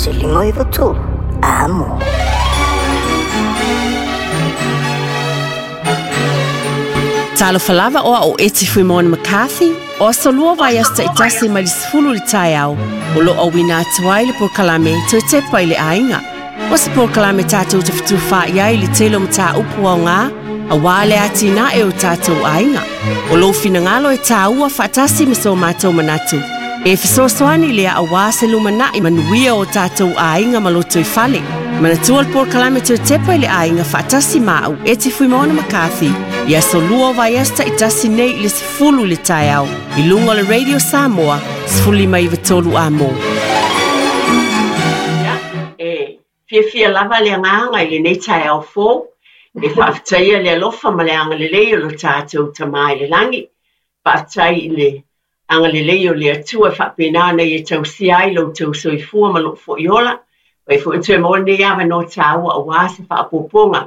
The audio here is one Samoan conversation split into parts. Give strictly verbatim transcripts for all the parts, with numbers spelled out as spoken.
Tasi lima iva tolu Amo. Talofa lava oa o Eti Fuimona McCarthy, o aso lua vaiaso ta'itasi mai le sefulu i le taeao, o lo'o auina atu ai le polokalame Toe Tepa i le Aiga. O se polokalame tatou te fetufa'i ai i le tele o mataupu aogā, auā le atinae o tatou aiga. O lou finagalo e tāua faatasi ma so matou manatu. E fesoasoani lea auā se lumana'i manuia o tatou aiga ma lotoifale. Manatua le polokalame Toe Tepa i le Aiga faatasi ma au Eti Fuimona McCarthy i aso lua o vaiaso ta'itasi nei i le sefulu i le taeao i luga o le Radio Samoa sefulu lima iva tolu Amo. Ia, e fiafia lava le agaga i lenei taeao fou, e faafetaia le alofa ma le agalelei o lo tatou Tamā i le lagi. Faafetai i le agalelei o le Atua e faapena ona ia tausia ai lo outou soifua ma lou foi ola. Ua foi toe maua lenei avanoa tāua auā se faaopoopoga.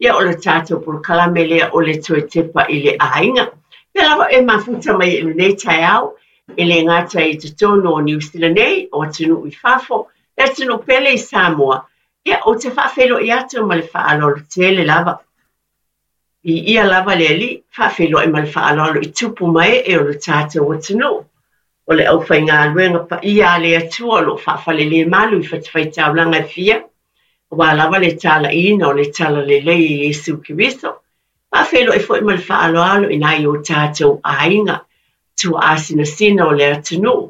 Ia o le tatou polokalame lea o le Toe Tepa i le Aiga. Pea lava e mafuta mai i lenei taeao, e le gata i totonu o Niu Sila nei, o atunuu i fafo, le atunuu pele i Samoa. Ia, ou te faafeiloai atu ma le faaaloalo tele lava. Viia lava le Alii, faafeiloai ma le faaaloalo i tupu ma ee o le tatou atunuu. O le aufaigaluega paia a le Atua o loo faafalelemalu i fatafaitaulaga e fia, auā lava le talaiina o le talalelei e Iesu Keriso. Faafeiloai foi ma le faaaloalo i nai o tatou aiga, tuaasinasina o le atunuu.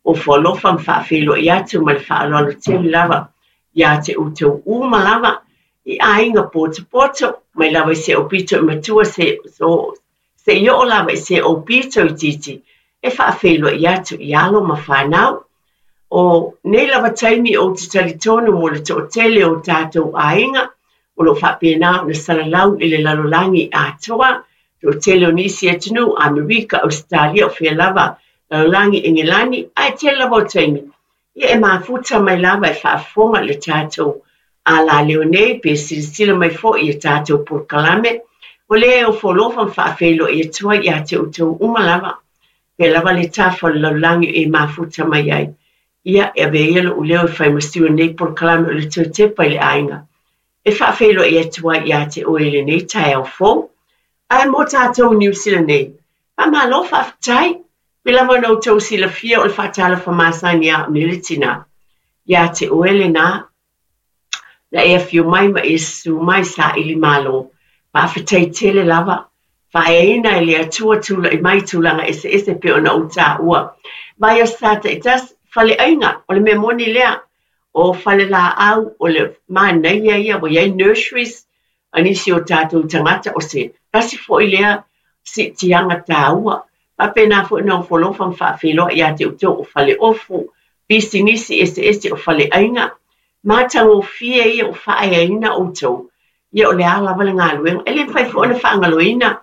Ofo alofa ma faafeiloai atu ma le faaaloalo tele lava ia te outou uma lava i aiga potopoto, mai lava i se aupito i matua se, so, seia oo lava i se aupito itiiti, e faafeiloai atu i alo ma fanau. O nei lava taimi ou te talitonu mo le toatele o tatou aiga, o loo faapena ona salalau i le lalolagi atoa, toatele o nisi atunuu, Amerika, Ausetalia, o fea lava, lalolagi Engelani, ae tele lava o taimi. Ia e mafuta mai lava e faafofoga i le tatou alaleo nei, pe silasila mai foi i tatou polokalame. O lea e ofo alofa ma faafeiloai atu ai ia te outou uma lava. Pea lava le tafa o le lalolagi e mafuta mai ai. Ia, e avea ia lo'u leo e fai ma sui o lenei polokalame o le Toe Tepa i le Aiga. E faafeiloai atu ai ia te oe i lenei taeao fou. Ae mo tatou Niu Sila nei, faamalo faafetai. Pei lava ona outou silafia o le faatalofa masani a au nei le tinā. Ia te oe lenā, na e afio mai ma e susu mai saili malo. Faafetai tele lava. Faaeaina e le Atua tula'i mai tulaga eseese pei ona ou taua. Vaiaso sa ta'itasi, faleaiga, o le mea moni lea. O falelaau, o le manaia ia, ua iai nurseries, a nisi o tatou tagata, o se tasi foi lea siitiaga tāua. Faapena foi ona ofo alofa ma faafeiloai ia te outou o faleofu, pisinisi eseese o faleaiga. Matagofie ia o faaeaina outou. Ia o le a lava le galuega. E le mafai foi ona faagaloina.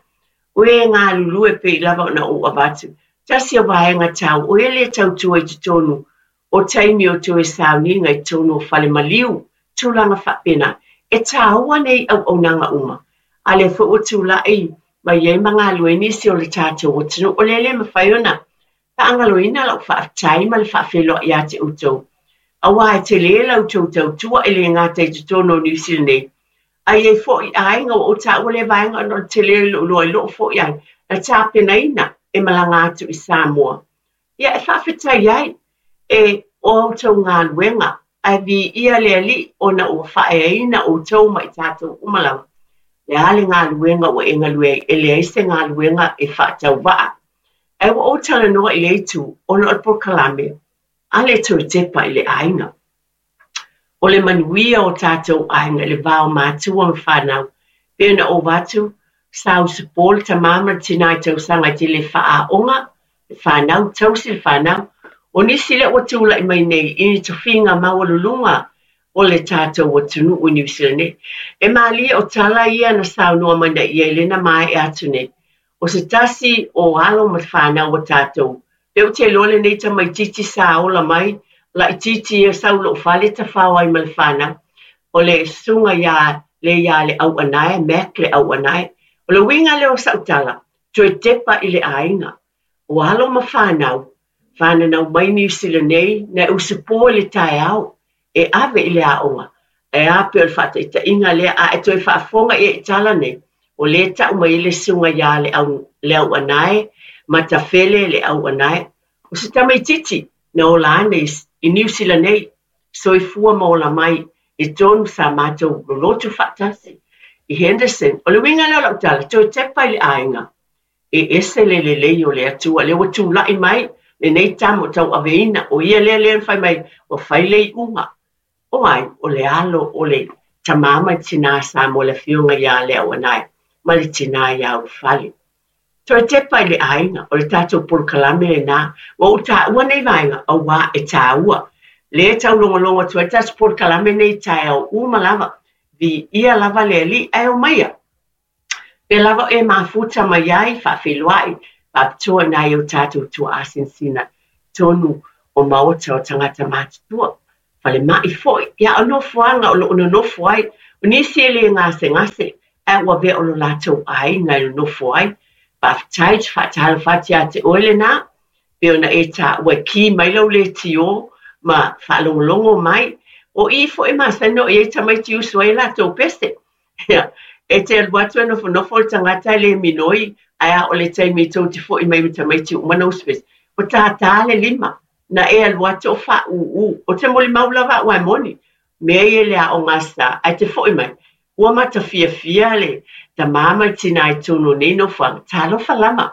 O e galulue pei lava ona ou avatu. Tasi o vaega tāua, o e le tautua i totonu o taimi o toe sauniga i totonu o fale maliu, tulaga faapena. E tāua nei auaunaga uma. A lea foi ua tula'i mai ai ma galue nisi o le tatou atunuu. O lea le mafai ona faagaloina lau faafetai ma le faafeiloai ia te outou. Auā e tele la outou tautua e le gata i totonu o Niu Sila nei. Ae i ai foi aiga ua ou taua lea vaega ona o le tele o lou iloa i loo foi ai na tapenaina e malaga atu i Samoa. Ia e faafetai ai e o outou galuega, ae viia le Alii ona ua faaeaina outou ma i tatou uma lava. Le a le galuega ua e galue ai, e leai se galuega e faatauvaa. Ae ua ou talanoa i lea itu ona o le polokalame a le Toe Tepa i le Aiga. O le manuia o tatou aiga i le va o matua ma fanau. Pei ona ou avatu, sa usupo le tamā ma le tinā i tausaga e tele faaaoga, le fanau, tausi le fanau. O nisi lea ua tula'i mai nei i ni tofiga maualuluga o le tatou atunuu i Niu Sila nei. E malie o tala ia na saunoa mai na ia i lena maea atu nei. O se tasi o alo ma fanau a tatou. Pe ou te iloa lenei tamaitiiti sa ola mai, laitiiti ia sau lou fale tafao ai ma le fanau. O le susuga ia le ia le Auanae, Mac le Auanae. O le uiga lea o sau tala, toe tepa i le aiga. O alo ma fanau, fananau mai Niu Sila nei, na e usupo i le taeao. E ave i le aoga. E a pe o le faataitaiga lea a e toe faafofoga i i tala nei. O le tau mai le susuga ia le au, le au anae, Matafele le au anae. O se tamaititi na ola ane i Niu Sila nei, soifua ma ola mai i tonu sa matou lolotu faatasi i Henderson. O le uiga lea o lau tala, toe tepa i le aiga. E ese le lelei o le Atua, lea ua tulai mai lenei tama o tauaveina, o ia lea lea na fai mai, ua fai le iuga. O ai, o le alo o le tamā ma le tinā sa mo le afioga ia le au anae, ma le tinā ia Ulufale. Toe tepa i le aiga, o le tatou polokalame lenā. Ua ou taua nei vaega, auā e taua. Le taulogologo atu ai tatou polokalame nei taeao uma lava. Viia lava le Alii ae omaia. Pe lava e mafuta mai ai, faafeiloai, faapitoa nai o tatou tuaasinasina tonu o maota o tagata matutua. Falemai foi, ia o nofoaga o loo nonofo ai, o nisi e le gasegase, ae ua avea o lo latou aiga e nonofo ai. Faafetai te faatalofa atu ia te oe lenā, pe ona e taua e ki mai lau leitio ma faalogologo mai. O i foi masani o i ai tamaiti usu ai latou pese. Ia, e te alu atu e nofonofo le tagata e le minoi, ae a o le taimi tou te foi mai ma tamaiti uma na usu pese. O tātā le lima, na e alu atu o faaūū. O te molimau lava au ae moni. Mea ia le aoga sa, ae te foi mai. Ua matafiafia le tamā ma le tinā i tonu o nei nofoaga. Talofa lava.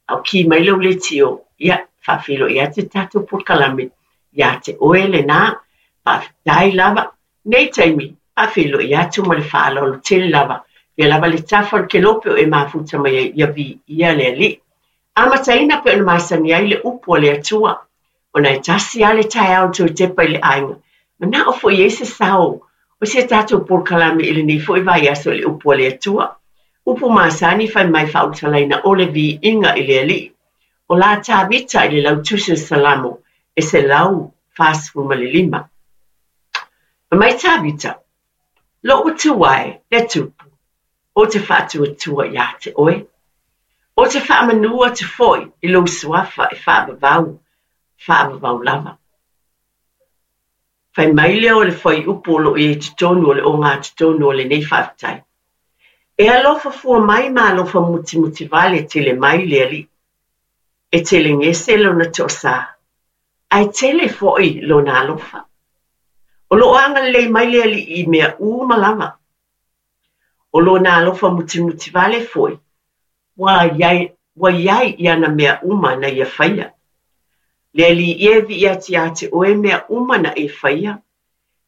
A o ki mai lau leitio, ia, faafeiloai atu le tatou polokalame ia te oe lenā. Faafetai lava. Nei taimi, faafeiloai atu ma le faaaloalo tele lava. Ia lava le tafa o le kelope o e mafuta mai ai, ia viia le Alii. Amataina pe ona masani ai le upu a le Atua. Ona e tasi lava le taeao toe tepa i le aiga. Manao foi ai se sao o si a tatou polokalame i lenei foi vaiaso i le upu a le Atua. Upu masani fai mai faaulutalaina o le viiga i le Alii. O la Tavita i le lautusi o Salamo e selau fasefulu ma le lima. Fai mai Tavita, lou Atua e, le Tupu, ou te faatuatua ia te oe. Ou te faamanu atu foi i lou suafa e faavavau, faavavau lava. Fai mai lea o le fuaiupu o loo i ai totonu o le ogatotonu o lenei faafetai. E alofa fua mai ma alofa mutimutivale tele mai le Alii. E telegese lona toasā, ae tele foi lona alofa. O loo agalelei mai le Alii i mea uma lava. O lona alofa mutimutivale foi, ua iai, ua iai i ana mea uma na ia faia. Le Alii e viia atu ia te oe mea uma na e faia.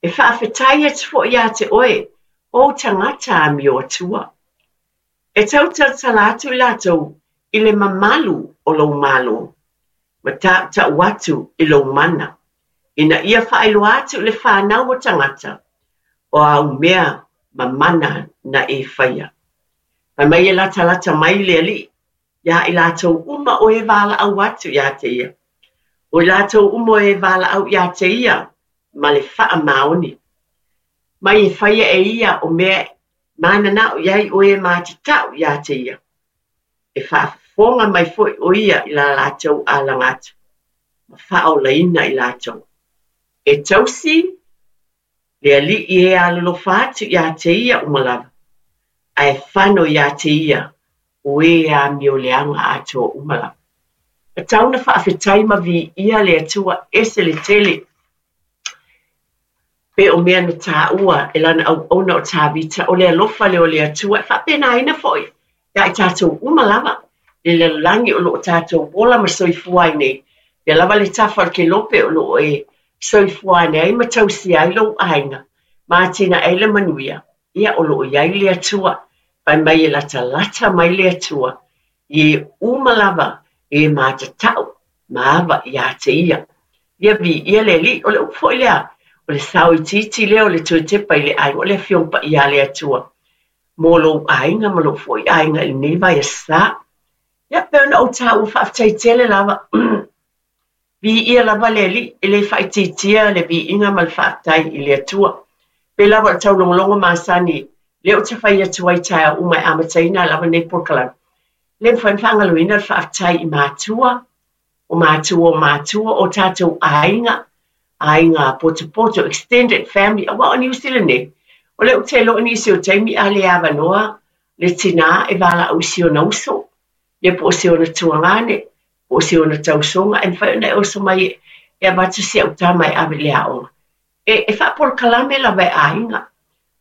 E faafetai atu foi ia te oe, o tagata amio atua. E tautalatala atu i latou i le mamalu o lou Malo, ma tautau atu i lou mana, ina ia faailoa atu i le fanau o tagata, o au mea mamana na e faia. Fai mai e latalata mai le Alii, ia i latou uma o e valaau atu ia te ia. O i latou uma o e valaau ia te ia, ma le faamaoni. Mai e faia e ia o mea mananao i ai o e matatau ia te ia. E faafofoga mai foi o ia i la latou alaga atu, ma faaolaina i latou. E tausi le Alii e alolofa atu ia te ia uma lava, ae fano ia te ia o e amioleaga atoa uma lava. E tau na faafetai ma viia le Atua ese le tele. Pe o mea na taua e lana auauna o Tavita o le alofa lea o le Atua e faapenaina foi ia i tatou uma lava le lalolagi o loo tatou ola ma soifua ai nei. Ia lava le tafa o le kelope o loo e soifua ane ai ma tausia ai lou aiga ma atinae ai le manuia. Ia o loo i ai le Atua. Fai mai e latalata mai le Atua i e uma lava e matatau ma ava ia te ia. Ia viia le Alii. O le upu foi lea, o le sao itiiti lea o le toe tepa i le aiga, o le Afioga Paia a le Atua mo lou aiga ma lou foi aiga i lenei vaiaso. Ia pe ona ou taua faafetai tele lava. Viia lava le Alii, e le faaitiitia le viiga ma le faafetai i le Atua. Pe lava o le taulogologo masani, lea ou te fai atu ai taeao uma e amataina lava nei polokalame. Le mafai ona faagaloina le faafetai i matua, o matua o matua, o tatou aiga, Aiga potopoto, extended family, auā o Niu Sila nei, o lea ou te iloa nisi o taimi a le avanoa le tinā e valaau i si ona uso, ia po o si ona tuagane, po o si ona tausoga, e mafai ona e oso mai e avatu si au tama e ave i le aoga. E, e faapolokalame lava e aiga.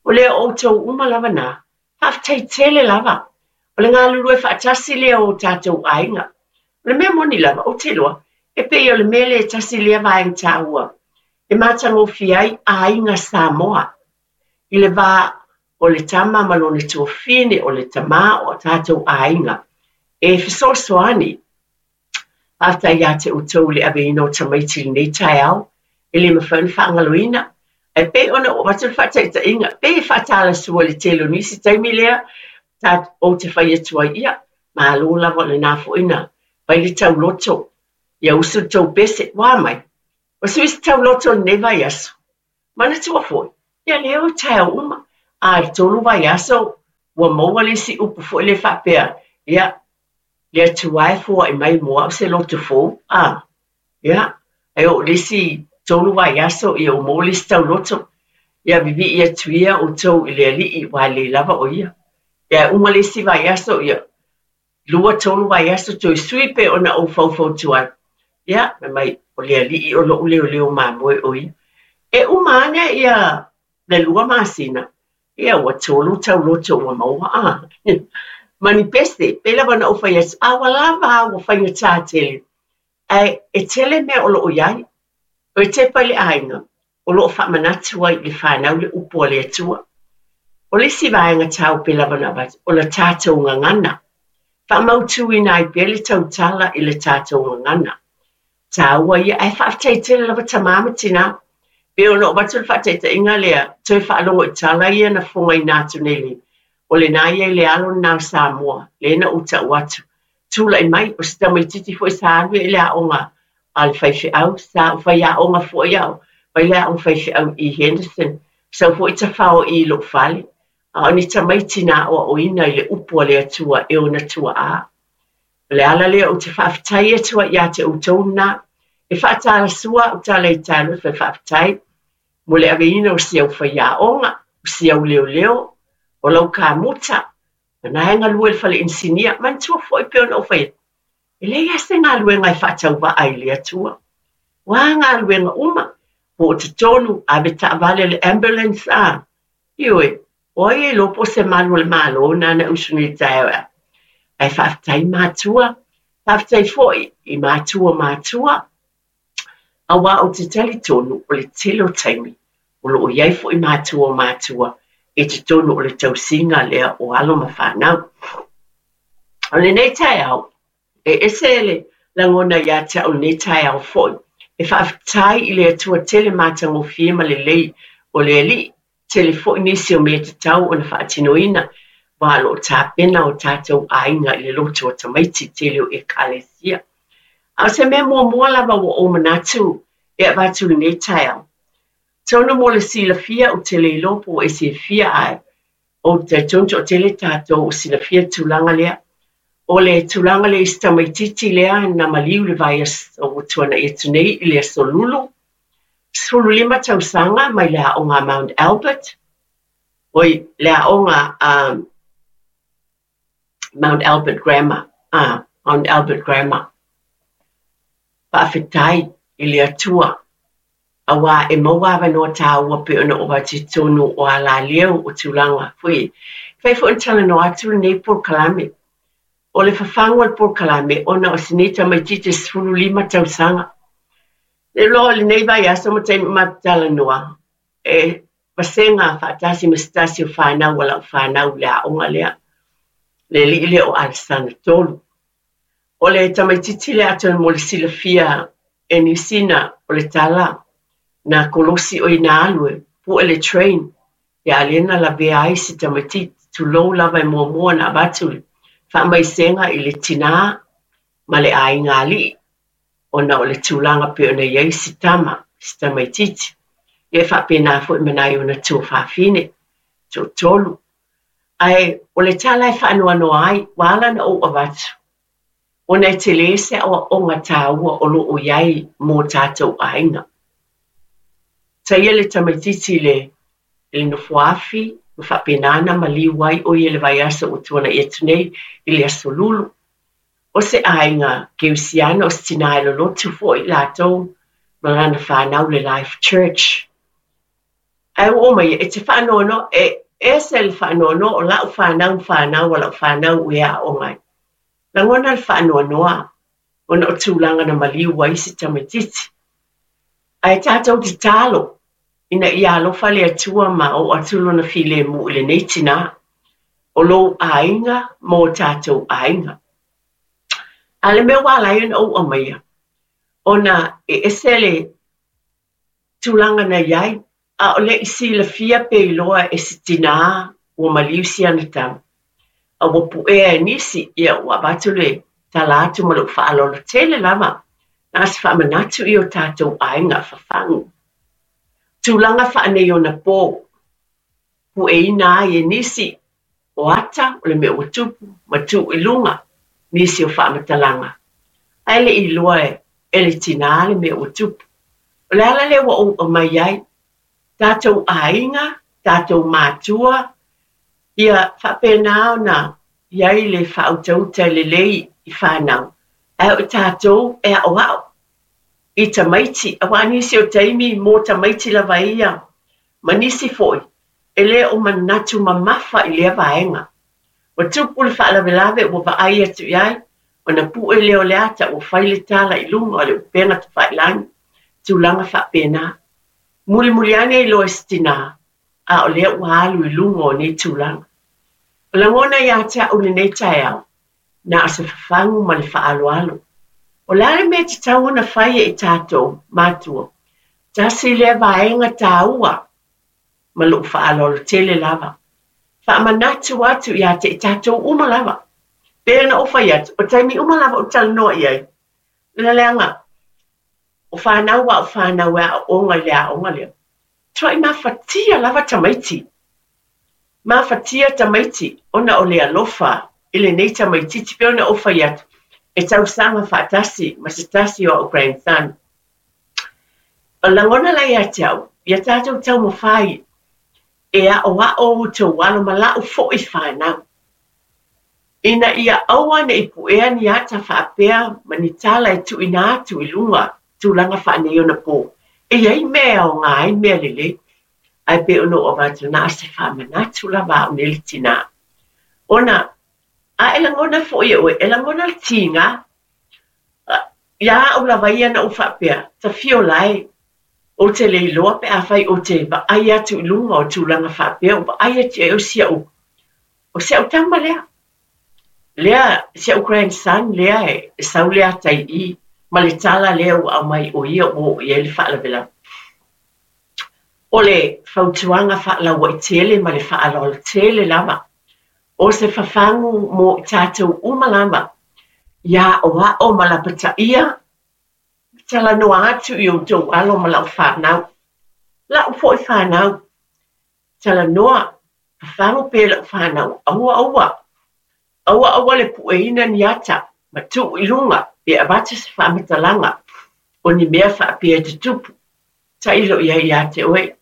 O lea o outou uma lava nā, faafetai tele lava. O le galulue faatasi lea o tatou aiga. O le mea moni lava, ou te iloa, e pei o le mea lea e tasi lea vaega taua e matagofie ai aiga Samoa i le va o le tama ma lona tuafafine, o le tamā o tatou aiga e fesoasoani. Faafetai ia te outou i le aveina o tamaiti i lenei taeao, e le mafai ona faagaloina. Ae pei ona ou avatu le faataitaiga, pei e faatalasua i le tele o nisi taimi lea ta ou te fai atu ai, ia, malo lava o lena foi na fai le tauloto, ia usu le tou pese, ua a mai? Ua sui se tauloto i lenei vaiaso. Manatua foi, ia lea o taeao uma, a i le tolu vaiaso ua maua le isi upu foi lea faapea, ia, le Atua e foai mai mo au se loto fou, a, ia, ae oo i le isi tolu vaiaso, ia ua maua le isi tauloto, ia vivii atu ia outou i le Alii, aua e lelei lava o ia. Ia e uma le isi vaiaso, ia, lua tolu vaiaso toe sui pei ona ou faufautua ai. Ia, fai mai, o le Alii o lou leoleo mamoe o ia. E uma ane ia le lua masina, ia ua tolu tauloto ua maua a. Ma ni pese, pei lava ona ou fai atu, a ua lava a ua faigata tele. Ae e tele mea o lo o i ai. O e tepa i le aiga, o lo o faamanatu ai i le fanau le upu a le Atua. O le isi vaega taua pei lava ona avatu, o le tatou gagana. Faamautuina ai pea le tautala i le tatou gagana. Taua ia, ae faafetai tele lava tamā ma tinā. Pei ona ou avatu le faataitaiga lea, toe faalogo i tala ia na fogaina atu nei le, o lena ia i le alo lena o Samoa, lea na ou tau atu. Tulai mai, o se tamaitiiti foi sa alu i le aoga a le faifeau, sa ou faiaoga foi au, fai le aoga faifeau i Henderson, sau foi tafao i lou fale, a o ni tamaiti na aoaoina i le upu a le Atua e ona tuaa. O le ala lea ou te faafetai atu ai ia te outou lena, e faatalasua au tala i talofa e faafetai mo le aveina o si au faiaoga, o si au leoleo, o lau kamuta, na e galue i le fale inisinia, manatua foi pei ona ou fai atu, e leai lava se galuega e faatauvaa i le Atua. Ua a galuega uma, po o totonu, ave taavale le ambulance a, ioe, o ai e iloa po o se malu o le Malo lena na usu nei i le taeao e ave. Ae faafetai matua, faafetai foi i matua matua, auā ou te talitonu o le tele o taimi o lo o i ai foi matua o matua i totonu o le tausiga lea o alo ma fanau. O lenei taeao, e ese le lagona ia te au lenei taeao foi, e faafetai i le Atua tele matagofie ma lelei o le Alii, tele foi nisi o mea tatau ona faatinoina, aua o lo o tapena o tatou aiga i le loto o tamaiti tele o Ekalesia. A o se mea muamua lava ua ou manatu e avatu i lenei taeao, atonu mo le silafia ou te le iloa po ua e silafia ae ou te talitonu toatele tatou o silafia le tulaga lea. O le tulaga lea i si tamaitiiti lea na maliu i le vaiaso ua tuanai atu nei i le Aso Lulu, sefulu lima tausaga mai le aoga a Mount Albert, oi, le aoga a Mount Albert Grammar, ah, Mount Albert Grammar. Faafetai i le Atua, auā e maua avanoa taua pei ona oo atu i totonu o alaleu o tulaga foi. E fai foi ona talanoa atu lenei polokalame. O le fafagu o le polokalame ona o si nei tamaitiiti e sefulu lima tausaga. Le loa o lenei vaiaso ma taimi o matou talanoa, e vasega faatasi ma se tasi o fanau a lau fanau i le aoga lea, le alii lea o Alesana Tolu. O le tamaitiiti lea atonu mo le silafia e nisi na o le tala na kolosi oi na alu e pue le train, ia a lea na lavea ai si tamaitiiti, tulou lava e muamua ona avatu le faamaisega i le tinā ma le aiga alii, ona o le tulaga pei ona i ai si tama, si tamaitiiti. Ia e faapena foi ma nai ona tuafafine, toatolu. Ae o le tala e faanoanoa ai, ua ala ona ou avatu, ona e tele se aoaoga taua o lo o i ai mo tatou aiga. Taia le tamaitiiti i le i le nofoafi ma faapena ona maliu ai ʻo ia i le vaiaso ua tuanaʻi atu nei i le Aso Lulu. O se aiga kerisiano, o se tinā e lolotu foi latou ma lana fanau le Life Church. Ae ua oo mai e te faanoanoa, e ese le faanoanoa o lau fanau ma fanau a lau fanau ua e aooga ai. Lagona le faanoanoa ona o tulaga na maliu ai si tamaitiiti. Ae tatou tatalo ina ia alofa le Atua ma oo atu lona filemu i lenei tinā. O lou aiga ma o tatou aiga. A o le mea ua ala ai ona ou aumaia, ona e ese le tulaga na i ai, a o le i silafia pe iloa e se tinā ua maliu si ana tama, a ua puea e nisi, ia ua avatu le tala atu ma lou faaaloalo tele lava, na o se faamanatu i o tatou aiga fafagu. Tulaga faaneionapo, pueina ai e nisi o ata o le mea ua tupu ma tuu i luga nisi o faamatalaga. Ae le i iloa e le tinā le mea ua tupu. O le ala lea ua ou aumai ai, tatou aiga, tatou matua, ia faapena ona i ai le faautauta lelei i fanau. Ae o tatou e aoao i tamaiti, auā nisi o taimi mo tamaiti lava ia, ma nisi foi, e le o manatu mamafa i lea vaega. Ua tupu le faalavelave ua vaai atu i ai, ona pue lea o le ata ua fai le tala i luga o le upega tafailagi, tulaga faapena. Mulimuli ane iloa e se tinā, a o lea ua alu i luga o nei tulaga. O lagona ia te au lenei taeao, na o se fafagu ma le faaaloalo. O le a le mea e tatau ona fai e i tatou matua, tasi lea vaega taua ma lou faaaloalo tele lava. Faamanatu atu ia te i tatou uma lava. Pei ona ou fai atu, o taimi uma lava ou talanoa i ai. Le leaga, o fanau a o fanau e aooga i le aoga lea. Tuai mafatia lava tamaiti. Mafatia tamaiti ona o le alofa i lenei tamaitiiti pei ona ou fai atu, e tausaga faatasi ma se tasi o au grandson. O lagona la ia te au, ia tatou taumafai e aoao outou alo ma lau foi fanau. Ina ia aua ne i puea ni ata faapea ma ni tala e tuuina atu i luga tulaga faaneionapo. E i ai mea e aoga ai mea lelei. Ae pei ona ou avatu na o se faamanatu lava au nei le tinā. Ona a e lagona foi e oe, e lagona le tiga. Ia au lava ia na ou faapea, tafio lae, ou te le iloa pe afai ou te vaai atu i luga o tulaga faapea, ou vaai atu i ai o si au, o si au tama lea. Lea, si au grandson lea e sau le ata i i, ma le tala lea ua aumai o ia ua oo i ai le faalavelave. O le fautuaga faalauaitele ma le faaaloalo lava, o se fafagu mo i tatou uma lava, ia aoao ma lapataia, talanoa atu i outou alo ma lau fanau. Lau foi fanau, talanoa, fafagu pea lau fanau, aua aua, aua aua le pueina ni ata, ma tuu i luga, pe avatu se faamatalaga, o ni mea faapea e tutupu. Tailo i ai ia te oe,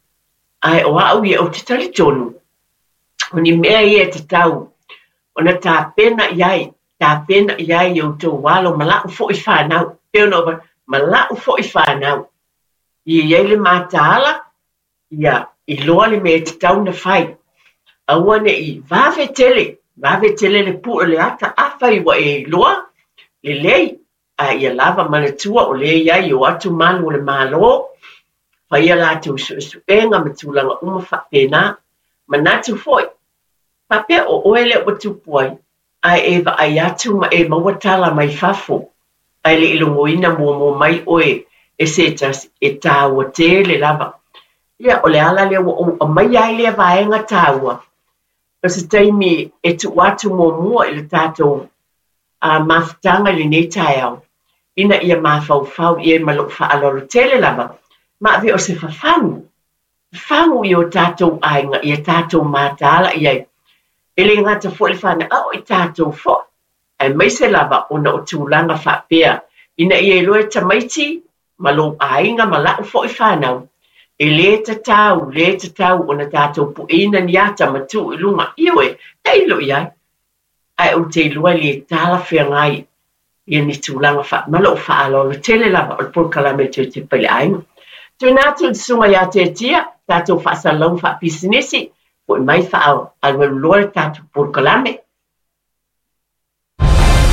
ae o au ia ou te talitonu, o ni mea ia e tatau, ona tapena i ai, tapena i ai i outou alo ma lau foi fanau, pei ona ou ma lau foi fanau. Ia i ai le mataala, ia iloa le mea e tatau ona fai. Aua ne i vave tele, vave tele le pue o le ata, afai ua e iloa, lelei, a ia lava manatua o lea i ai o atu malu o le Malo, faia latou suesuega ma tulaga uma faapena. Manatu foi, faapea o oe lea ua tupu ai, ae e vaai atu ma e maua tala mai fafo. Ae le i logoina muamua mai oe e se tasi e taua tele lava. Ia, o le ala lea ua ou aumaia ai lea vaega taua. O se taimi e tuu atu muamua i le tatou uh, mafutaga i lenei taeao, ina ia mafaufau i ai ma lou faaaloalo tele lava, ma ave o se fafagu. Fafagu i o tatou aiga, ia tatou mataala i ai. E le gata foi le fanau, a o i tatou foi. Aemaise lava ona o tulaga faapea, ina ia iloa e tamaiti ma lou aiga ma lau foi fanau, E lē tatau, lē tatau ona tatou pueina ni ata ma tuu i luga. Ioe, tailo i ai. Ae ou te iloa e le talafeagai ia ni tulaga faa ma lou faaaloalo tele lava o le polokalame e toe tepa i le aiga. Tuuina atu i le susuga ia Tiatia, tatou faasalalauga faapisinisi, foi mai faaalualuloa le tatou polokalame.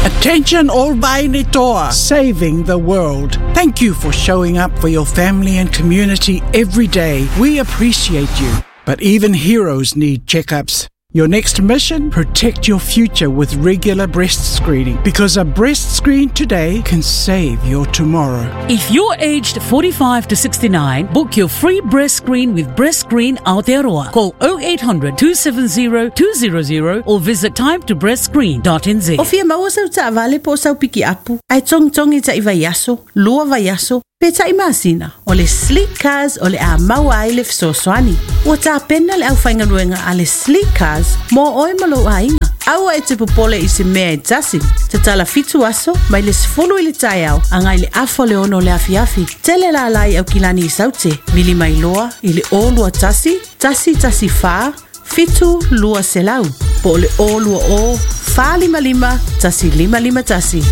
Attention all Vainitoa, saving the world. Thank you for showing up for your family and community every day. We appreciate you. But even heroes need checkups. Your next mission? Protect your future with regular breast screening, because a breast screen today can save your tomorrow. If you're aged forty-five to sixty-nine, book your free breast screen with Breast Screen Aotearoa. Call oh eight hundred, two seven zero, two zero zero or visit time to breast screen dot n z. O fia maua sau taavale po o sau piki apu, ae togitogi ta'i vaiaso, lua vaiaso, pe ta'i masina. O le Sleek Cars o le a maua ai le fesoasoani. Ua tapena le aufaigaluega a le Sleek Cars mo oe ma lou aiga. Aua e te popole i se mea e tasi. Tatala fitu aso, mai le sefulu i le taeao, agai le afa o le ono o le afiafi. Tele lalai i Aukilani i Saute, vili mai loa i le o lua tasi, tasi tasi whā, fitu lua selau. Po o le o lua o, whā lima lima, tasi lima lima tasi.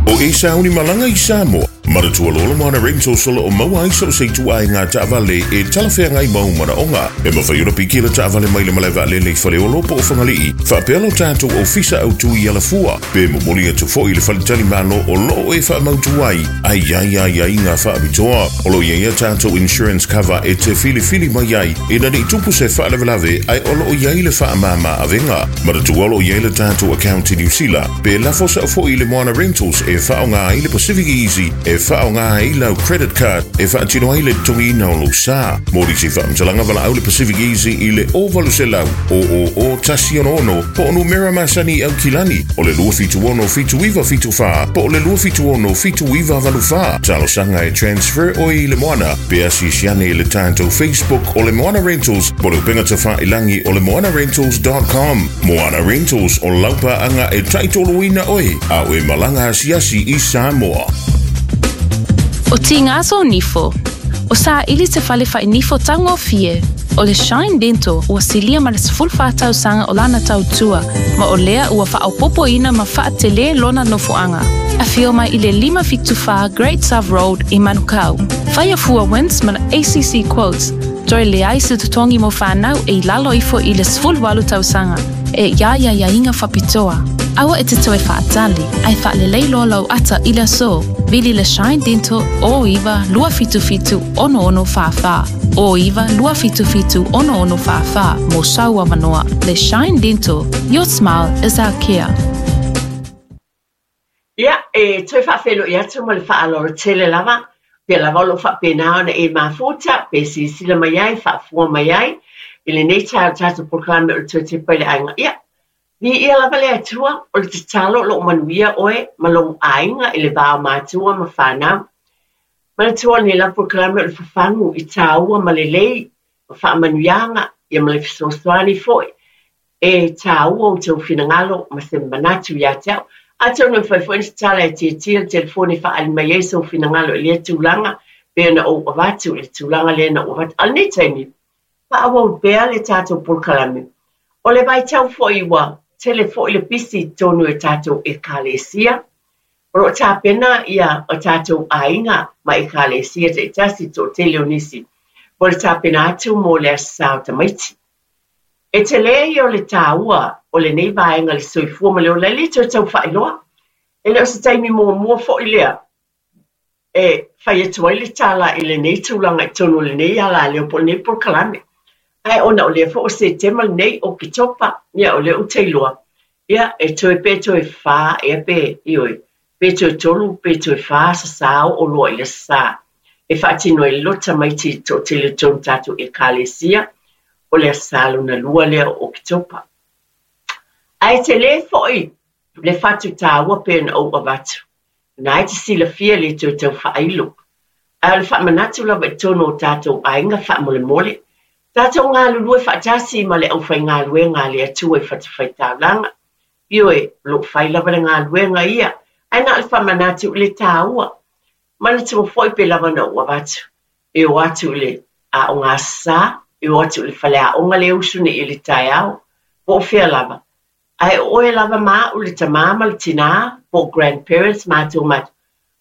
O e sauni malanga i Samoa, manatua loa le Moana Rentals o loo maua ai so o se ituaiga ngā taavale e talafeagai mau manaoga. E mafai ona piki le taavale mai le malae vaalele i Faleolo po o Fagalii, faapea lo tatou ofisa autu i Alafua, pe momoli atu foi i le faletalimalo o loo e faamautu ai, ai ai ai ai ngā faapitoa. O loo i ai a tatou insurance cover e te filifili mai ai, ina nei tupu se faalavelave ai o loo i ai le faamama avega. Manatua o loo i ai le tatou account i New Zealand, pe lafo sao foi i le Moana Rentals e faaaoga ai le Pacific Easy, e faaaoga ai lau credit card, e faatino ai le totogiina o lou sa. Mo nisi faamatalaga valaau le Pacific Easy i le o valu selau, o o o tasi ono ono, po o numera masani i Aukilani, o le lua fitu ono fitu iwa fitu whā, po o le lua fitu ono fitu iwa valu whā. Talosaga e transfer oe i le Moana, pe asiasi ane i le tatou Facebook o le Moana Rentals, po o le upega tafailagi o le moana rentals dot com. Moana Rentals o laupaanga e taitoloina oe, a o e malaga asiasi i Samoa. O tingaso nifo. O sa ili te fale whai nifo taungofie. O le Shine Dental ua silia ma le sefulu wha tausaga o lana tautua, ma o lea ua faaopopoina ma faatele lona nofoaga. Afio mai i le lima fitu wha Great South Road i Manukau. Whaia fua wins ma le A C C Quotes. Toe leai se totogi mo whanau e i lalo ifo i le sefulu walu tausaga. E ia ia ia inga whapitoa. Aua e te toe whaatali, ai whaalelei loa lau ata i le aso. Vili le Shine Dental o iwa lua fitu fitu ono ono wha wha. O iwa lua fitu fitu ono ono wha wha mo saua manoa. Le Shine Dental, your smile is our care. Ia, e toe whaawhelo i atu ma le whaaloro tele lava. Pea lava o loo faapena ona e mafuta, pe silasila mai ai, faafua mai ai. I lenei taeao tatou polokalame o le toe tepa i le aiga. Ia, viia lava le Atua, o le tatalo o loo manuia oe ma lou aiga i le va o matua ma whanau. Manatua o lenei lava polokalame o le fafagu i tāua ma lelei, ma faamanuiaga, ia ma le fesoasoani foi. E tāua o tau finagalo ma se manatu ia te au. Atonu e mafai foi ona tatala e tiatia le telefone e faaali mai ai sou finagalo i lea tulaga, pe ona ou avatu i le tulaga lea na ou avatu. A o lenei taimi, faaauau pea le tatou polokalame. O le vaitau foi ua tele foi le pisi i totonu e tatou ekalesia. O loo tapena ia o tatou aiga ma ekalesia taitasi toatele o nisi. Po le tapena atu mo le aso sa o tamaiti. E tele ia o le tāua o lenei vaega le soifua ma le ola, e le toe tau faailoa. E le o se taimi muamua foi lea e fai atu ai le tala i lenei tulaga i totonu o lenei alaleo po o lenei polokalame. Ae ona o lea foi o Setema lenei o Oketopa, ia o lea ou te iloa. Ia e toe pe toe whā, ea pe, ioe, pe toe tolu, pe toe whā sa sao o loa i le sa. E faatino ai le lo tamaiti i toatele tonu tatou ekalesia, o le aso sa lona lua lea o Oketopa. Ae tele foi le fatu tāua pe na ou avatu. Na e te silafia le toe tau whaailo. Ae o le faamanatu lava i totonu o tatou aiga faamolemole. Tatou galulue faatasi ma le aufaigaluega a le Atua i fatafaitaulaga. Ioe, o loo fai lava le galuega ia. Ae na o le faamanatu i le tāua. Manatua foi pe lava na ou avatu. E o atu i le aoga sa, e o atu i le faleaoga le usu nei i le taeao, po o fea lava. Ae o oe lava ma a'u le tamā ma le tinā, po o grandparents matou matou.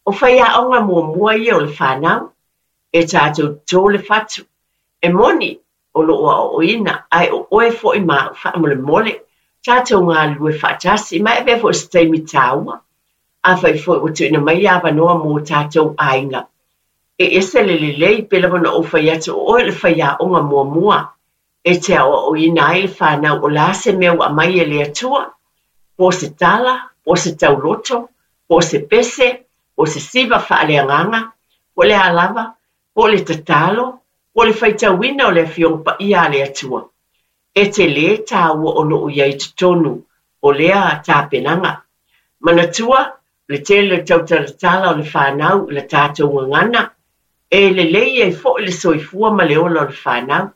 O faiaoga muamua ia o le fanau, e tatou toto le fatu. E moni o loo aoaoina, ae o oe foi ma a'u faamolemole, tatou galulue faatasi, ma e avea foi o se taimi taua. Afai foi ua tuuina mai avanoa mo tatou aiga, e ese le lelei pe lava ona ou fai atu o oe o le faiaoga muamua e te aoaoina ai le fanau o le a se mea ua aumai e le Atua, po o se tala, po o se tauloto, po o se pese, po o se siva faaleagaga, po o le a lava, po o le tatalo, po o le faitauina o le Afioga Paia a le Atua. E telē tāua o loo i ai i totonu o lea tapenaga. Manatua, le tele o le tautalatala o le fanau i la tatou gagana, e lelei ai foi le soifua ma le ola o le fanau.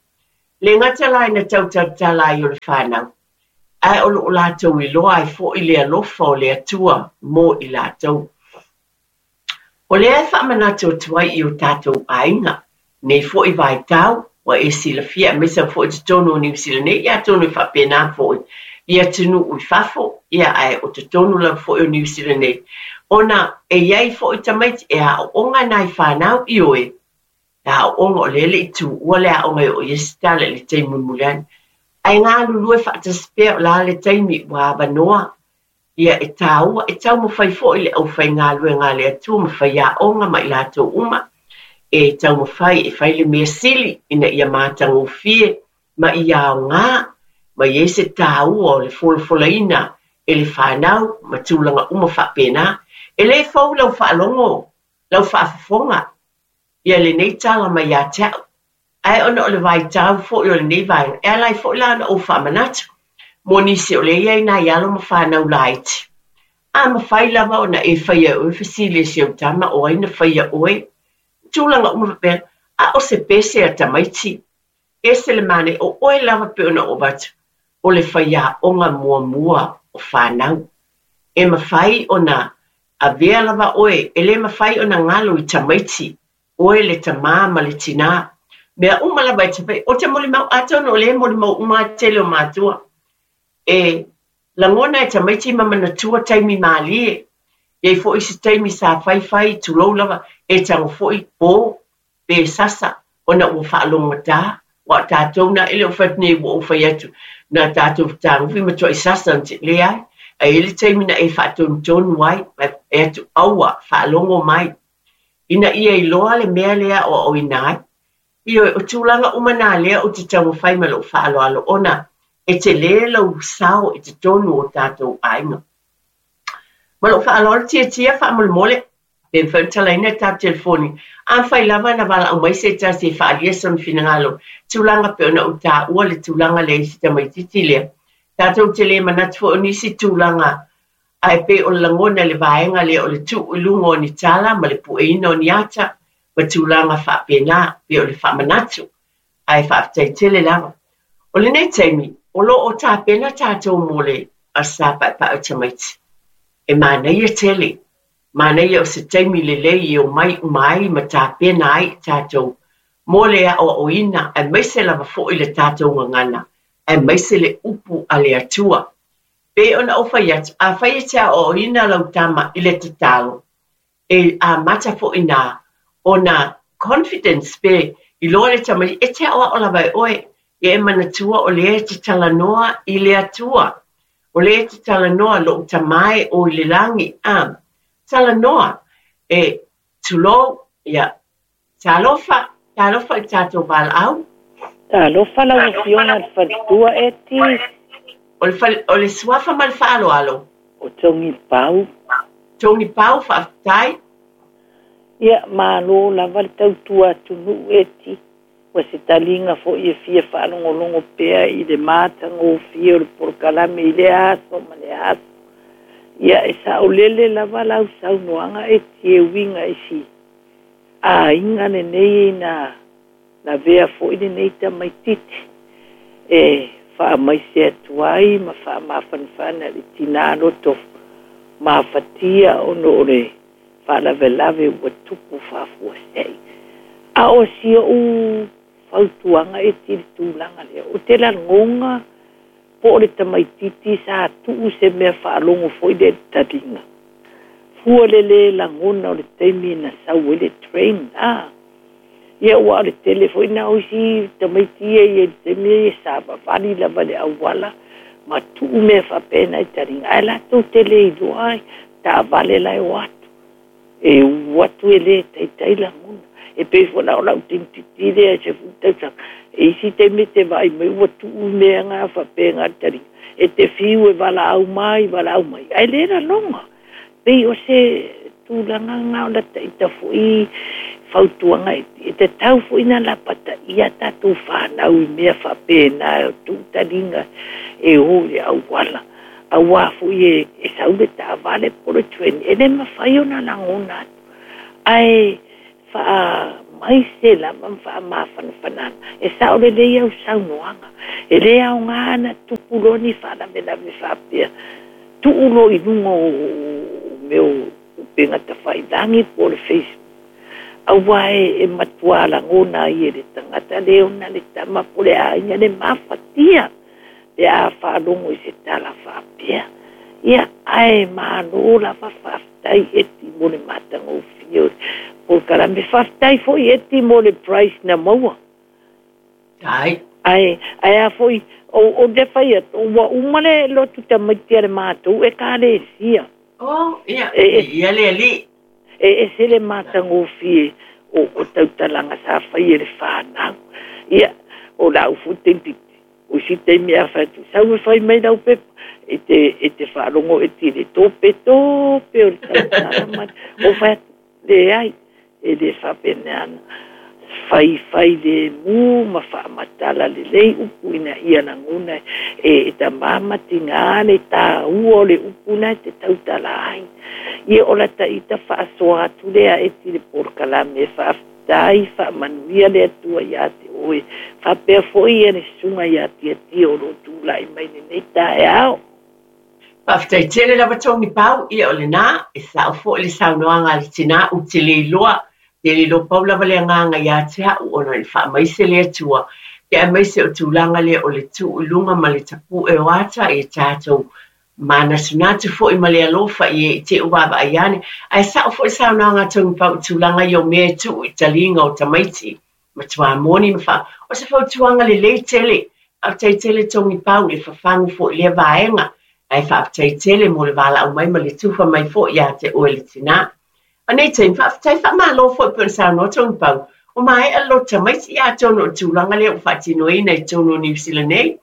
Le gata la ina tautalatala ai o le fanau, ae o loo latou iloa ai foi le alofa o le Atua mo i latou. O lea e faamanatu atu ai i o tatou aiga, nei foi vaitau, ua e silafia aemaise foi i totonu o Niu Sila nei, ia atonu e faapena foi i atunuu i fafo, ia ae o totonu lava foi o Niu Sila nei, ona e i ai foi tamaiti e aooga nai fanau i oe, e aooga o lea e le i tuua le aoga e oo i ai se tala i le taimi mulimuli ane. Ae galulue faatasi pea o le a le taimi ua avanoa, ia e tāua, e taumafai foi le aufaigaluega a le Atua ma faiaoga ma i latou uma, e taumafai e fai le mea sili ina ia matagofie ma ia aogā, ma i ai se tāua o le folafolaina e le fanau ma tulaga uma faapena. E lē fou lau faalogo, lau faafofoga ia lenei tala mai ia te a'u, ae ona o le vaitau foi o lenei vaega, e ala ai foi la ona ou faamanatu mo nisi o lea e i ai nai alo ma fanau laiti. A mafai lava ona e faia e oe fesili e si ou tama o ai na faia oe, tulaga uma faapena, a o se pese a tamaiti, ese le manaia, o oe lava pe ona ou avatu, o le faiaoga muamua o fanau. E mafai ona avea lava oe, e lē mafai ona galo i tamaiti, oe le tamā ma le tinā. Mea uma lava e te fai, ou te molimau, atonu o lea e molimau uma lava tele o matua. E lagona e tamaiti ma manatua taimi mālie, e i ai foi se taimi sa faifai, tulou lava, e tago foi po pe sasa, ona ua faalogogata, aua o tatou na e le o fai atu nei ua ou fai atu, na tatou fetagofi matuai sasa na leai, ae i ai le taimi na e faatonutonu ai, e atu aua faalogo mai, ina ia iloa le mea lea e aoaoina ai. Ioe, o tulaga uma na lea ou te taumafai ma lou faaaloalo ona e telē lou sao i totonu o tatou aiga. Ma lou faaaloalo tiatia faamolemole, pe mafai ona talaina le tatou telefoni, afai lava na valaau mai se tasi e faaalia sona finagalo, tulaga pei ona ou taua le tulaga lea i si tamaitiiti lea. Tatou te le manatu foi o nisi tulaga, ae pei o le lagona i le vaega lea o le tuu i luga o ni tala ma le pueina o ni ata ma tulaga faapena, pei o le faamanatu, ae faafetai tele lava. O lenei taimi, o loo tapena tatou mo le Aso Sa Paepae o Tamaiti. E manaia tele, manaia o se taimi lelei e omai uma ai ma tapena ai i tatou mo le aoaoina, aemaise lava foi le tatou gagana, aemaise le upu a le Atua. Pei ona ou fai atu, afai e te aoaoina lau tama i le tatalo, e amata foi na ona confidence pe iloa le tamaiti, e te aoao lava e oe, ia e manatua o lea e te talanoa i le Atua. O lea e te talanoa lou Tamā e o i le lagi, a talanoa e tulou, ia talofa, talofa i tatou valaau. Talofa lau Afioga i le faletua Eti. O le fale, o le suafa ma le faaaloalo. O Togi Pau. Togi Pau, faafetai. Ia, malo lava le tautua atunuu Eti. Ua se taliga foi e fia faalogologo pea i le matagofie o le polokalame i lea aso ma lea aso. Ia, e saolele lava lau saunoaga Eti e uiga i si aiga lenei na lavea foi lenei tamaitiiti e faamaise atu ai ma faamafanafana i le tinā loto mafatia ona o le faalavelave ua tupu faafuasei. A o si o'u fautuaga e ti le tulaga lea o te lagoga po o le tamaititi sa tuu se mea faalogo fo'i le taliga fua le lē lagona o le taimi na sau ai le train a ia ua o le tele fo'i na o isi tamaiti ia ia le taimi ia sa vavali lava le auala ma tuu mea faapena i taliga ae latou te lē iloa ai taavale lae o atu e uu atu e lē taitai lagona e pei fo'i la o la'u teinititi lea se fulu tausaga e isi taimi te vaai mai ua tuu mea ga faapega le taliga e te fiu e valaau mai valaau mai ae lē laloga pei o se tulaga ga o la ta'ita fo'i fautuaga e tatau fo'i na lapataʻia tatou fanau i mea faapena o tuu taliga e ō i le auala auā fo'i e, e sau le taavale po le train e lē mafai ona lagona atu ae faamai se lava ma faamafanafanaga e sa'o lelei au saunoaga e lē aogā na tupu loa ni faalavelave faapea tuu lo i luga o mea o upega tafailagi po o le Facebook auā e, e matuā lagona ai e le tagata le ona le tama po le aiga le mafatia le a faalogo i se tala faapea ia ae mālō lava faafetai eti mo le matagofie o polokalame faafetai fo'i eti mo le price na maua ai ae ae a fo'i o o le fai atu ua uma le lotu tamaiti a le matou ekalesia oh ia e, e, ia le alii e ese le matagofie o, o tautalaga sa fai e le fanau ia o la'u fo'i teinititi o isi taimi a fai atu sau e fai mai lau pepa e te e te faalogo e ti le tope tope o le tautala ma o fai atu leai e lē faapeneana fai fai le mu ma faamatala lelei upu ina ia lagona e, e tamā ma tigā le tāua o le upu na e te tautala ai ia o la ta'ita faasoa atu lea e ti le polokalame e faafetai faamanuia le Atua iā te oe faapea fo'i ia le susuga iā Tiatia o loo tula'i mai lenei taeao. Faafetai tele lava Togi Pau ia o lenā e sa'o fo'i le saunoaga a le tinā ou te le iloa te le iloa pau lava le agaga iā te a'u ona i faamaise le Atua ke aemaise o tulaga lea o le tuu i luga ma le tapu'e o ata i tatou manatunatu fo'i ma le alofa i e i te uavaai ane ae sa'o fo'i saunoaga a Togi Pau i tulaga ia o mea e tuu i taliga o tamaiti matuā moni ma faa o se fautuaga lelei tele faafetai tele Togi Pau i le fafagu fo'i lea vaega ae faafetai tele mo le valaau mai ma le tufa mai fo'i iā te oe le tinā. O nei taimi faafetai faamālō fo'i pei ona saunoa Togi Pau o mae'a le loto tamaiti ia atonu o le tulaga lea ua faatinoina i totonu o Niu Sila nei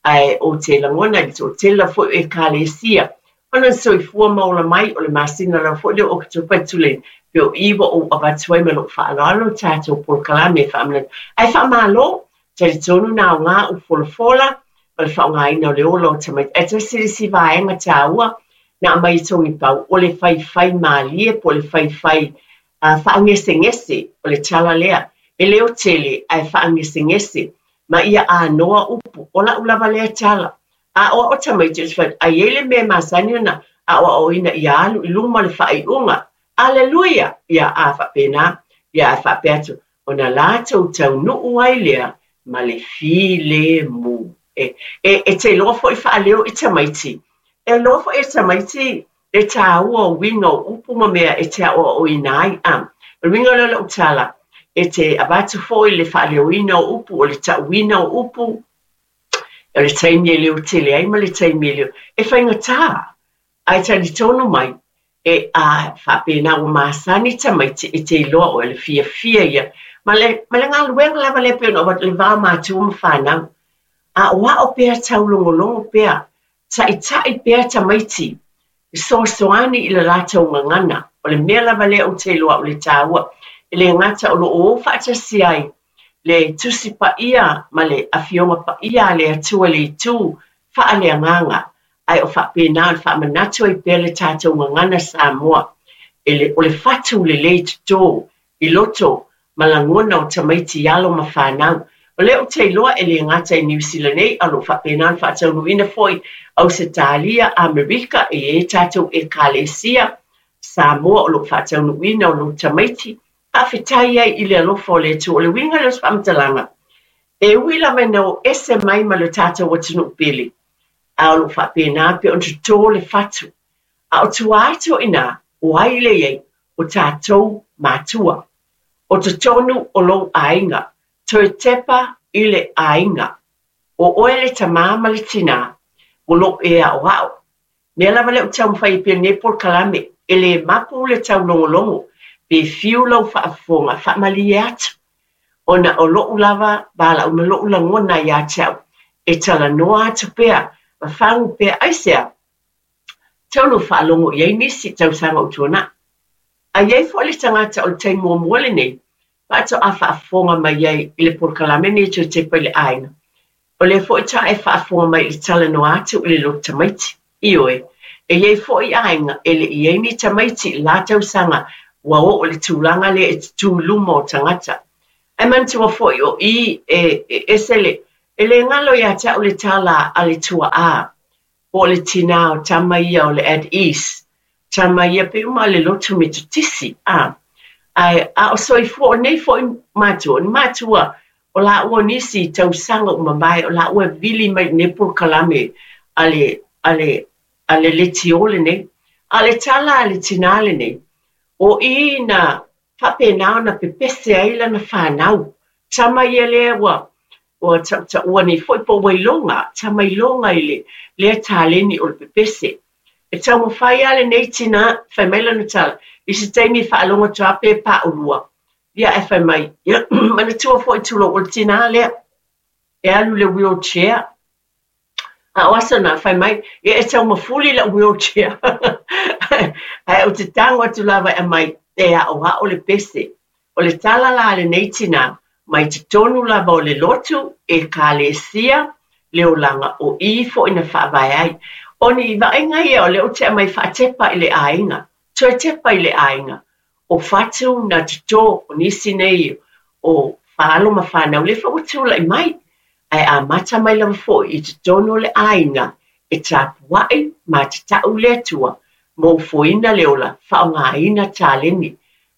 ae o te lagona i le to'atele fo'i o ekalesia ona soifua ma ola mai o le masina lava fo'i lea o Oketopa e tulai pe o i ua ou avatu ai ma lo'u fa'aloalo tatou polokalame e fa'amanatu ae fa'amālō talitonu na aogā u folafola ma le fa'aogāina o le ola o tamaiti ae tasi le isi vaega tāua na aumai e Togi Pau o le faifai mālie po o le faifai uh, fa'agesegese o le tala lea e leo tele ae fa'agesegese ma ia anoa upu o la'u lava lea tala a o a'o tamaiti o se fai ai ai le mea masani ona a'oa'oina ia alu i luma le fa'ai'uga aleluia ia a fa'apena ia ae fa'apea atu ona latou taunu'u ai lea ma le filemu e e e te iloa fo'i fa'aleo i tamaiti e iloa fo'i e tamaiti le tāua o uiga o upu ma mea e te a'oa'oina ai a o le uiga lea o la'u tala e te avatu fo'i le fa'aleoina o upu o le ta'uina o upu o le taimi e leo tele ai ma le taimi e leo e faigatā ae talitonu mai e a faapena ua masani tamaiti e te iloa o le fiafia ia ma le ma le galuega lava lea pei ona ou avatu le va o matua ma fanau a'oa'o pea taulogologo pea ta'ita'i pea tamaiti fesoasoani i le latou gagana o le mea lava lea ou te iloa a'u le tāua e lē gata o loo ou fa'atasi ai le Tusi Paia ma le Afioga Paia a le Atua i le itu fa'aleagaga ae o fa'apena o le fa'amanatu ai pea le tatou gagana Samoa e le o le fatu lelei totō i loto ma lagona o tamaiti alo ma fanau o lea ou te iloa e lē gata i Niu Sila nei a o loo faapena ona faataunuuina fo'i Ausetalia Amerika e iai tatou ekalesia Samoa o loo faataunuuina o lou tamaiti, faafetai ai i le alofa o le Atua. O le uiga lea o se faamatalaga, e ui lava ina o ese mai ma le tatou atunuu pele, a o loo faapena pe ona totō le fatu. A o tua atu o i ina, o ai le i ai, o tatou matua. O totonu o lou aiga, toe tepa i le aiga. O oe le tamā ma le tinā, o loo e aoao. Mea lava lea ou te taumafai ai pea i lenei polokalame, e lē mapu le taulogologo, pe fiu lau faafofoga, faamalie atu. Ona o lou lava valaau ma lou lagona ia te au, e talanoa atu pea, ma fagu pea aisea, tau no faalogo i ai nisi tausaga o tuanai. A i ai foi le tagata o le taimi muamua lenei, faatoa faafofoga mai ai i le polokalame lenei Toe Tepa i le Aiga. O lea foi ta e faafofoga mai i le talanoa atu i le loto tamaiti. Ioe, e i ai foi aiga e le i ai ni tamaiti i la tausaga ua oo i le tulaga lea e tutū i luma o tagata. Ae manatua foi o i e, e ese le, e le galo ia te au le tala a le tuaa, po o le tinā o tama ia o le At Ease, tama ia pe uma le lotu Metotisi, a. Ae a o soifua o nei foi matua, o ni matua o laua o nisi tausaga ua mavae, o laua e vili mai i lenei polokalame a le, a le, a le leitio lenei. A o le tala a le tinā lenei, o i na faapena ona pepese ai lana fanau. Tama ia lea ua ua tautaua nei foi po ua iloga, tama iloga i le lea taleni o le pepese. E taumafai lava lenei tinā, fai mai lana tala, i se taimi e faalogo atu lava pe paulua. Ia ae fai mai, ia manatua foi tulou o le tinā lea, e alu i le wheelchair. A o aso na, fai mai, ia e taumafuli lau wheelchair. Ae ou te tago atu lava e aumai, e aoao le pese. O le tala la a lenei tinā, mai totonu lava o le lotu, ekalesia, le olaga o i foi na faavae ai. O ni vaaiga ia o lea ou te aumai faatepa i le aiga, toe tepa i le aiga. O fatu na totō o nisi nei o faalo ma fanau lea foi ua tulai mai. Ae amata mai lava foi i totonu o le aiga e tapuai ma tatau le Atua mo ufoina le ola faaaogaina taleni.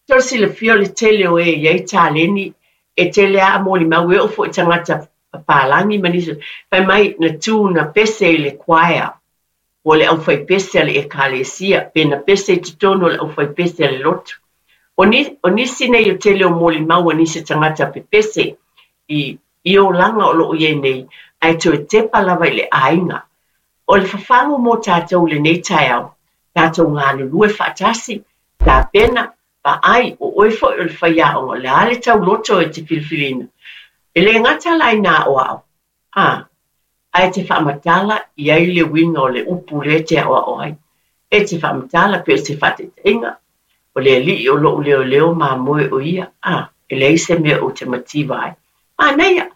Tau silafia o le tele o e i ai taleni, e tele lava molimau e oo foi i tagata papalagi ma nisi. Fai mai na tu na pese i le choir, po o le aufaipese a le ekalesia, pe na pese i totonu o le aufaipese a le lotu. O, ni, o nisi nei o tele o molimau a nisi tagata pepese i, i olaga o loo i ai nei, ae toe tepa lava i le aiga. O le fafagu mo tatou i lenei taeao, tatou galulue faatasi, tapena, vaai, o oe foi o le faiaoga, o le a le tauloto e te filifilina. E le gata la ina aoao, a, ae te faamatala i ai le uiga o le upu lea e te aoao ai. E te faamatala pe o se faataitaiga, o le alii o lou leoleo mamoe o ia, a, e leai se mea ou te mativa ai. Manaia,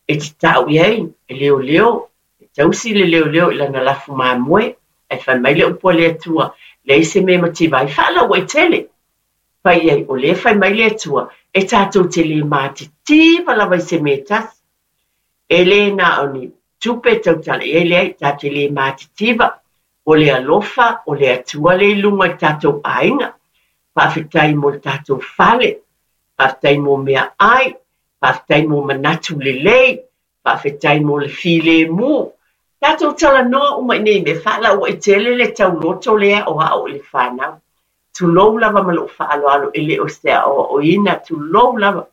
e te tau i ai, e leoleo, e tausi le leoleo i lana lafu mamoe, ae fai mai le upu a le Atua, leai se mea e mativa ai, faalauaitele. Fai i ai, o lea e fai mai le Atua, e tatou te le matitiva lava i se mea e tasi. E le na o ni tupe e tautala i ai, leai, tatou te le matitiva, o le alofa, o le Atua lea i luga i tatou aiga. Faafetai mo le tatou fale, faafetai mo meaai, faafetai mo manatu lelei, faafetai mo le filemu. Tatou talanoa uma i nei mea, faalauaitele le tauloto lea aoao i le fanau. Tulou lava ma lou faaaloalo e le o se aoaoina, tulou lava.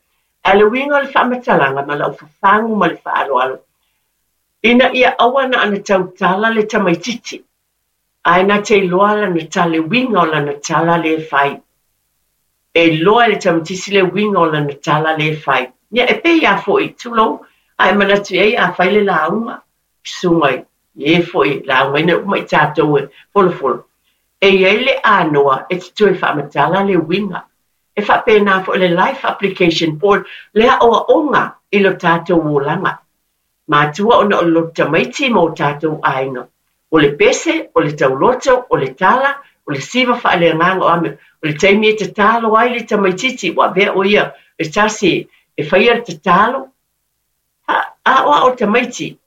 Ae le uiga o le faamatalaga ma lau fafagu ma le faaaloalo, ina ia aua na ona tautala le tamaitiiti, ae na te iloa lana tala, le uiga o lana tala lea e fai. E iloa e le tamaitiiti le uiga o lana tala lea e fai. Ia e pei lava foi, tulou, ae manatu i ai a fai le lauga, susuga i e foi laugaina uma i tatou e folofolo. E i ai le anoa e te toe faamatala le uiga. E faapena foi le life application po o le aoaoga i lo tatou olaga. Matua ona o le loto tamaiti ma o tatou aiga. O le pese, o le tauloto, o le tala, o le siva faaleagaga o a mea. O le taimi e tatalo ai le tamaitiiti, ua avea o ia le tasi e faia le tatalo. Aoao le tamaiti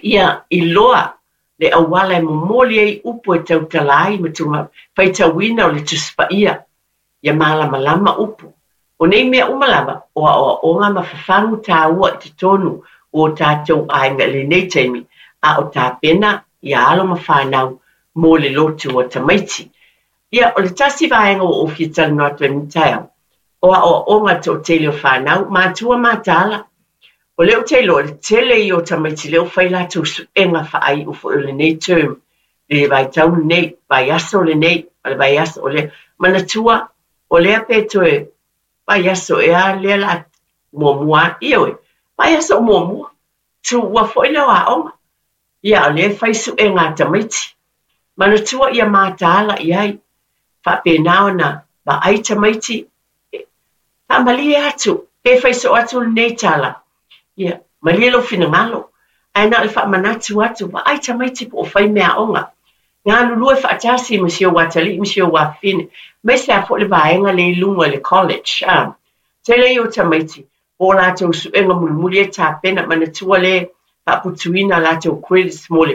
ia iloa Le auala e momoli ai upu e tautala ai ma tuga faitauina o le Tusi Paia ia malamalama upu. O nei mea uma lava o aoaoga ma fafagu tāua i totonu o o tatou aiga i lenei taimi a o tapena ia alo ma fanau mo le lotu o tamaiti. Ia, o le tasi vaega ua ou fia talanoa atu ai i lenei taeao, o aoaoga a le toatele o fanau, matua mataala. O lea ou te iloa, o le tele ia o tamaiti lea ua fai latou suega faaiu foi o lenei term, le vaitau lenei, vaiaso lenei, ma le vaiaso o lea. Manatua, o lea pe toe vaiaso ea lea la muamua, ioe, vaiaso o muamua, tuua foi lea o aoga. Ia, o lea e fai suega a tamaiti. Manatua ia mataala i ai, faapena ona vaai tamaiti, faamalie atu, pe fai soo atu lenei tala, ia, malie lou finagalo, ae na o le faamanatu atu, vaai tamaiti po o fai meaaoga. Galulue faatasi ma si ou atalii ma si ou afafine, aemaise lava foi le vaega lea i luga i le college. A tele ia o tamaiti po o latou suega mulimuli e tapena, manatua le faaputuina latou credits mo le